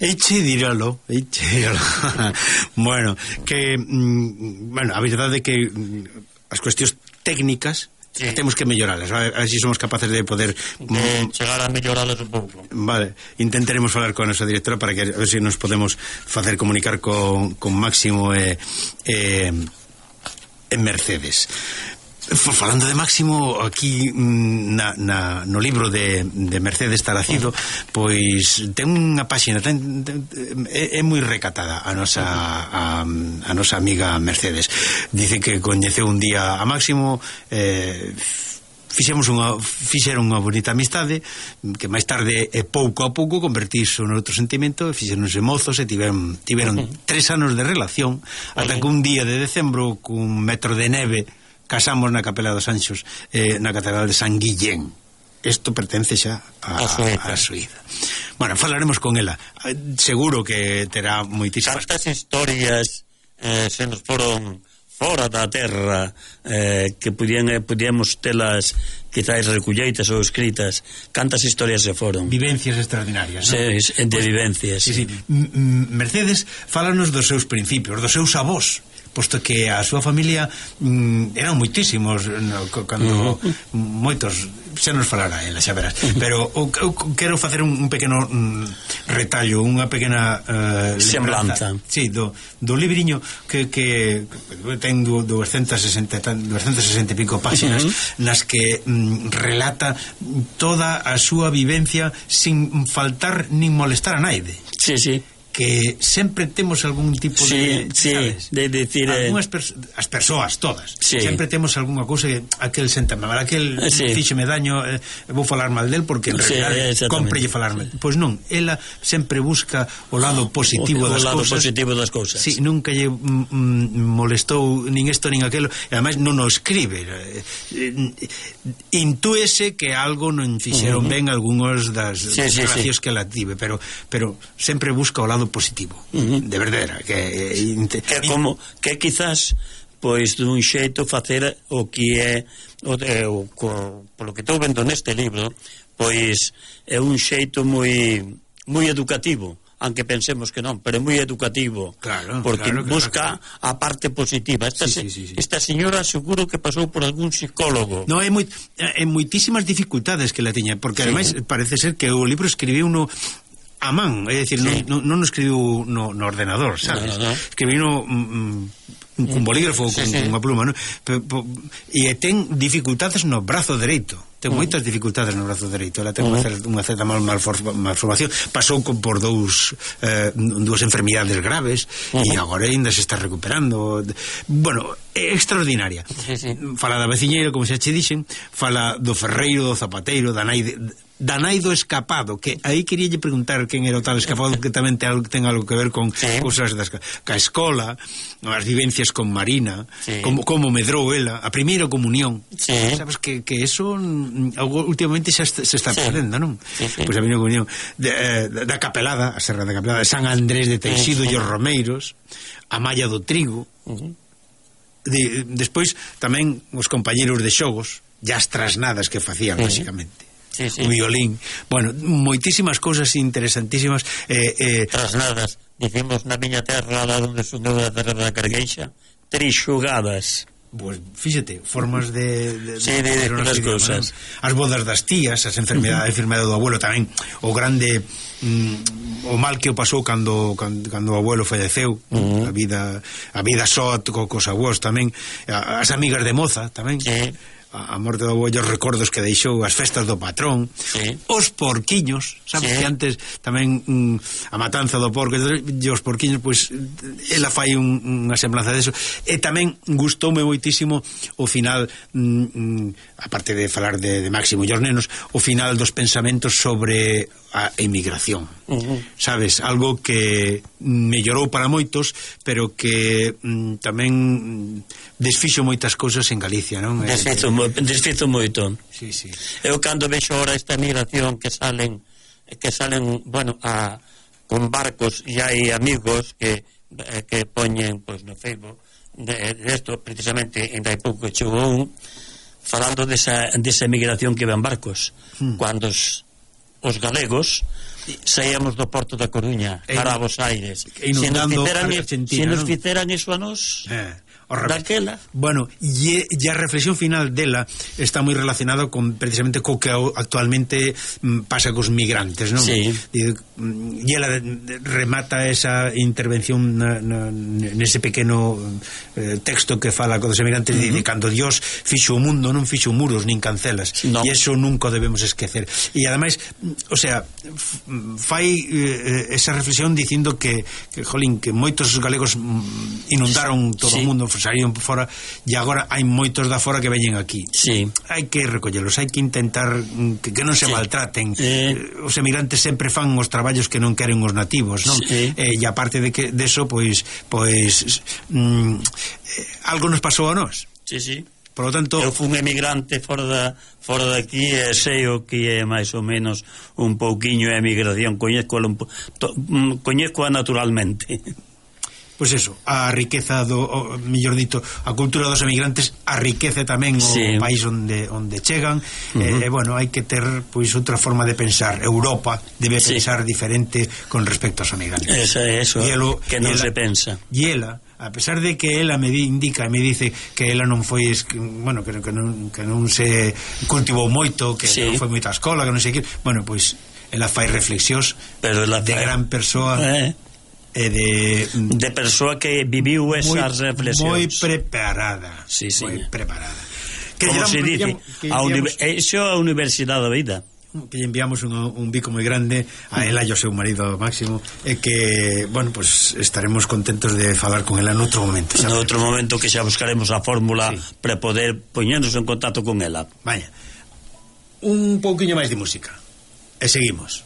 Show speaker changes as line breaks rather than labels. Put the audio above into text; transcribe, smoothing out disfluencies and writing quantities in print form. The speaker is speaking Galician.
Eiche diralo. Bueno, que a verdade é que as cuestións técnicas temos que melloralas, a ver se somos capaces de poder
chegar a melloralas un pouco.
Vale, intentaremos falar con a nosa directora para que a ver se nos podemos facer comunicar con Máximo e Mercedes. Falando de Máximo, aquí no libro de Mercedes Taracido, pois ten unha páxina é moi recatada a nosa amiga Mercedes. Dice que coñeceu un día a Máximo, fixeron unha bonita amistade que máis tarde pouco a pouco convertirse noutro sentimento, fixeronse mozos e tiveron 3 anos de relación ata que un día de decembro cun metro de neve casamos na Capela dos Anxos, na Catedral de San Guillén. Isto pertence xa a Suíza. Bueno, falaremos con ela. Seguro que terá moitísimas...
Cantas historias se nos foron fora da terra que podíamos telas quizás recolleitas ou escritas. Cantas historias se foron.
Vivencias extraordinarias, non?
Sí, de vivencias.
Sí. Mercedes fálanos dos seus principios, dos seus avós, posto que a súa familia eran moitísimos cando moitos xa nos falará ela, xa verás, pero eu quero facer un pequeno retallo, unha pequena
semblanza,
sí, do libriño que ten 260 e pico páxinas nas que relata toda a súa vivencia sin faltar nin molestar a naide.
Sí.
Que sempre temos algún tipo de, sabes?
De decir
as persoas todas, sempre temos algunha cousa que aquel senta mal, aquel fíxeme daño, vou falar mal del porque en realidad cómprelle falar mal. Pois non, ela sempre busca o lado positivo das cousas. Sí, nunca lle molestou nin isto nin aquelo, e ademais non o escribe. Intúese que algo non fixeron ben algúns das relacións que ela tive, pero sempre busca o lado positivo, de verdade, que
quizás pois dun xeito facer o que é polo que estou vendo neste libro, pois é un xeito moi educativo, aunque pensemos que non, pero é moi educativo, porque busca a parte positiva. Esta señora seguro que pasou por algún psicólogo.
No, é moitísimas dificultades que la tiña, porque ademais parece ser que o libro escribiu uno a man, é dicir, non escribiu no ordenador, sabes? Escribiu cun bolígrafo, con unha pluma, non? E ten dificultades no brazo dereito. Ten moitas dificultades no brazo dereito. Ela ten unha certa malformación. Pasou por dúas enfermidades graves e agora ainda se está recuperando. Bueno, é extraordinaria. Fala da veciñeira, como xa che dixen, fala do ferreiro, do zapateiro, da nai do escapado, que aí queríalle preguntar quen era o tal escapado, que tamén ten algo que ver con cousas ca escola, as vivencias con Marina, como medrou ela, a primeira comunión. Sabes que eso últimamente xa se está perdendo, non? Pois a primeira comunión da Capelada, a Serra da Capelada, de San Andrés de Teixido e os Romeiros, a Malla do Trigo. Despois tamén os compañeros de xogos, e as trasnadas que facían, basicamente. O violín, bueno, moitísimas cousas interesantísimas.
Trasnadas, dicimos na miña terra, lá onde son da terra da Cargueixa, trixugadas.
Pois, fíxate, formas de
as cousas.
As bodas das tías, as enfermedades do abuelo tamén, o grande o mal que o pasou cando o abuelo falleceu, a vida só cos abuelos tamén, as amigas de moza tamén, a morte do abuelo, os recordos que deixou, as festas do patrón, os porquiños, sabes que antes tamén a matanza do porco e os porquiños, pois ela fai unha semblanza deso. E tamén gustoume moitísimo o final, aparte de falar de Máximo e os nenos, o final dos pensamentos sobre a emigración, sabes, algo que mellorou para moitos, pero que tamén desfixo moitas cousas en Galicia, non?
Desfixo moito. Eu cando vexo ahora esta emigración que salen bueno, con barcos, e hai amigos que poñen pois no Facebook de esto, precisamente en hai pouco chegou un falando desa emigración que ven barcos, cando os galegos saíamos do Porto da Coruña para Bos Aires. Se nos fixeran iso a nos daquela.
Bueno, e a reflexión final dela está moi relacionado con precisamente co que actualmente pasa cos migrantes, non?
Sí.
E ela remata esa intervención nese pequeno texto que fala cos emigrantes, de cando Dios fixo o mundo, non fixo muros nin cancelas, e eso nunca debemos esquecer. E ademais, o sea, fai esa reflexión dicindo que jolín, que moitos galegos inundaron todo o mundo, saíron por fora, e agora hai moitos da fora que veñen aquí.
Sí.
Hai que recollelos, hai que intentar que non se maltraten. Os emigrantes sempre fan os traballos que non queren os nativos, non? E aparte de que deso, pois algo nos pasou a nós.
Sí, sí.
Por lo tanto,
eu fui un emigrante fora daqui e sei o que é máis ou menos un pouquiño a emigración, coñezcoa naturalmente.
Pois eso, a riqueza mellor dito, a cultura dos emigrantes enriquece tamén o país onde chegan. Bueno, hai que ter pois outra forma de pensar. Europa debe pensar diferente con respecto aos emigrantes.
Eso que non se pensa.
E ela, a pesar de que ela me dice que ela non foi, bueno, que non se cultivou moito, que non foi moita escola, que non sei que, bueno, pois ela fai reflexións de gran persoa.
De persoa que viviu esas reflexións
moi preparada. Moi preparada.
Como se dice, iso é a Universidade da Vida.
Que lle enviamos un bico moi grande a ela e ao seu marido Máximo, e que, bueno, pues estaremos contentos de falar con ela noutro momento.
Noutro momento que xa buscaremos a fórmula para poder poñernos en contacto con ela.
Vaya, un pouquiño máis de música e seguimos.